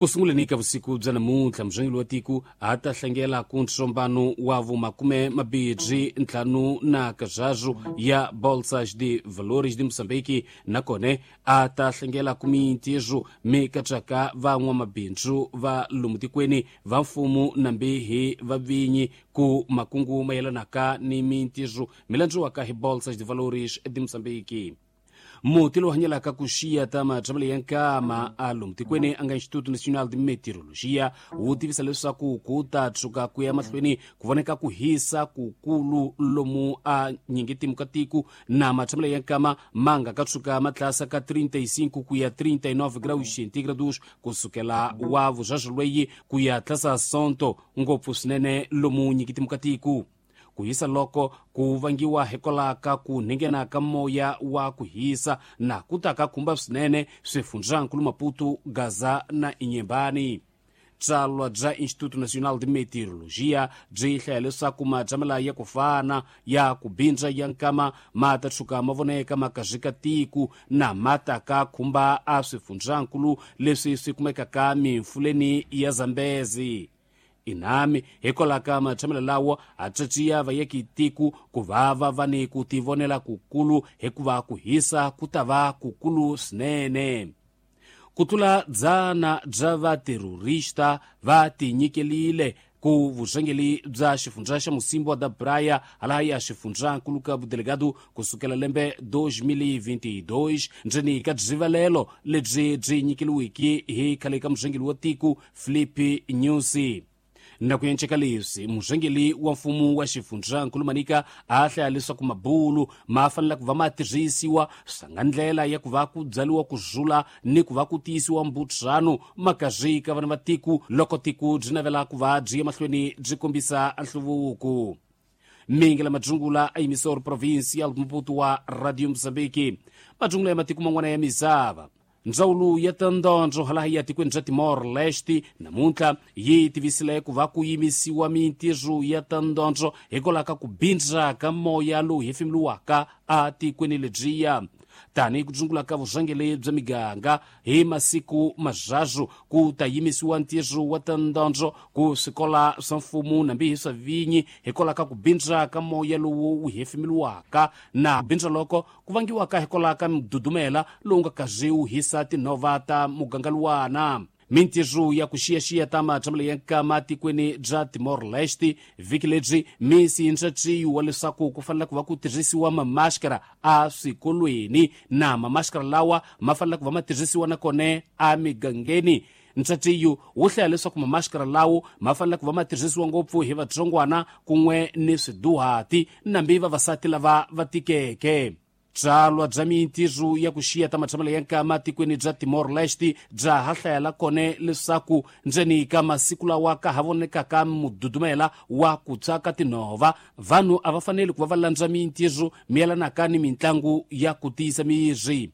Ku sunguleni ka vusiku bya namuntlha, murhangeri wa tiko a ta hlangela ku ntsombano wa vumakume mabirhi ntlhanu na kazhazu ya Bolsas de Valores de Moçambique, nakona a ta hlangela ku mintirho mi katsaka van'wamabindzu va lomu tikweni, va mfumo nambi hi vavinyi, ku makungu mayelanaka ni mintirho mi landziwaka hi Bolsas de Valores de Moçambique. Muti lowu hanyelaka ku xiya ta matshamelo ya nkama a lomu tikweni a nga Instituto Nacional de Meteorologia wu tivisa leswaku ku ta tshuka ku ya mahlweni ku voneka ku hisa kukulu lomu a nyingetimu ka tiko, na matshamelo ya nkama ma nga ka tshuka ma tlasa ka 35 ku ya 39 graus centígrados kusukela wa vuzvazvo lweyi ku ya tlasa sonto, ngopfu swinene lomu nyingetimu ka tiko. Ku hisa loko ku vangiwa hikwalaho ka ku nghena ka moya wa ku hisa na ku ta ka khumba swinene swifundzankulu Maputo, Gaza na Inhambane. Tsalwa bya Instituto Nacional de Meteorologia byi hlaya leswaku matshamela ya ku fana ya ku bindza ya nkama ma ta tshuka ma voneka ma kazika tiko na ma ta ka khumba a swifundzankulu leswi swi kumekaka mimfuleni ya Zambezi. Inami hikwalaho ka matshamelo lawo a tswatsiya vayeki tiko ku va va va ni ku tivonela kukulu, hikuva ku hisa ku ta va kukulu swinene. Ku tlula dzana bya vaterorista va tinyikelile ku vurhangeri bya xifundza xa Mocímboa da Praia hala ya xifundzankulu ka Delegado kusukela lembe 2022, ndzeni ka byivalelo lebyi byi nyikeliweke hi khale ka murhangeri wa tiko Filipe Nyusi. Na ku enceka leswi, murhangeri wa mfumo wa xifundzankulu Manica a hlaya leswaku mabulu ma fanele ku va ma tirhisiwa swa ndlela ya ku va ku byariwa ku zula ni ku va ku tiyisiwa mbutsano makazwi ka vana va tiko loko tiko byi navela ku va byi ya mahlweni byi kombisa nhluvuko. Mingela Madzungula a emissor provincial Maputo wa Radio Mozambique. Madzungula ya matiko man'wana ya misava. Ndzawulo ya tandondzo hala ya tikweni bya Timor Leste namuntlha yi tivisile ku va ku yimisiwa mintirho ya tandondzo hikwalaho ka ku bindza ka moya lowu hefemuriwaka a tikweni lebyiya. Tanihi ku dzungula ka vurhangeri bya miganga hi masiku mazhazu ku ta yimisiwa ntirho wa tandondzo ku swikola swa mfumo nambi hi swa vinyi hikwalaho ka ku bindza ka moya lowu wu hefemuriwaka, na bindza loko ku vangiwaka hikwalaho ka mududumela lowu nga kazi wu hisa tinhova ta muganga luwana. Mintirho ya ku xiyaxiya ta matshamelo ya nkama tikweni bya Timor Leste vhiki lebyi mi siyintswatsiwa wa leswaku ku fanele ku va ku tirhisiwa mamaskara a swikolweni, na mamaskara lawa ma fanele ku va ma tirhisiwa nakona a migangeni. Ntswatsiyo wu hlaya leswaku mamaskara lawo ma fanele ku va ma tirhisiwa ngopfu hi vatsongwana kun'we ni swiduhati nambi vavasati lava va tikeke. Tsalwa bya mintirho ya ku xiya ta matshamelo ya nkama tikweni bya Timor Leste bya ha hlayela kone leswaku ndzeni ka masiku lawa ka ha vonekaka mududumela wa ku tshwa ka tinhova, vanhu a va faneli ku va va landza mintirho miyelanaka ni mitlangu ya ku tiyisa miri.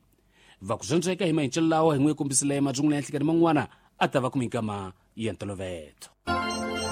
Va ku zwendzeka hi mahincelo lawa hi n'wi kombisile madzungula ya nhlikani man'wana a ta va ku minkama ya ntoloveto.